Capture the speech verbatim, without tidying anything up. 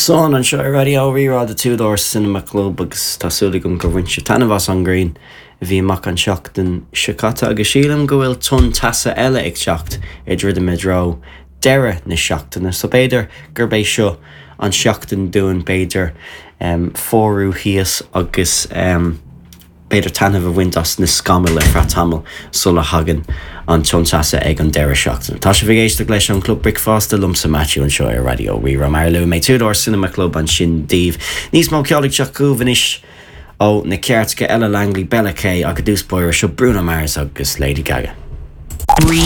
Sun anseo ar Raidió Rí-Rá The Two Door Cinema Club agus tá súil agam gur bhain sibh taitneamh as an ngrian a bhí amach an seachtain seo caite agus sílim go bhfuil tonn teasa eile ag teacht ag druidim i dtreo deireadh na seachtaine, so b'fhéidir gurb é seo an seachtain dúinn b'fhéidir um, fuarú thíos agus um, b'fhéidir taitneamh a bhaint as na scamaill ar feadh tamaill sula thagann an tonn teasa ag an deireadh seachtaine. Tá sibh ag éisteacht leis an Club Bricfeasta liomsa Matthew anseo ar Raidió Rí-Rá mar luaigh mé Two Door Cinema Club ansin daoibh. Níos mó ceoil ag teacht chugaibh anois ó na cairde Ella Langley Bella K agus dúspóir seo Bruno Mars agus Lady Gaga. Rí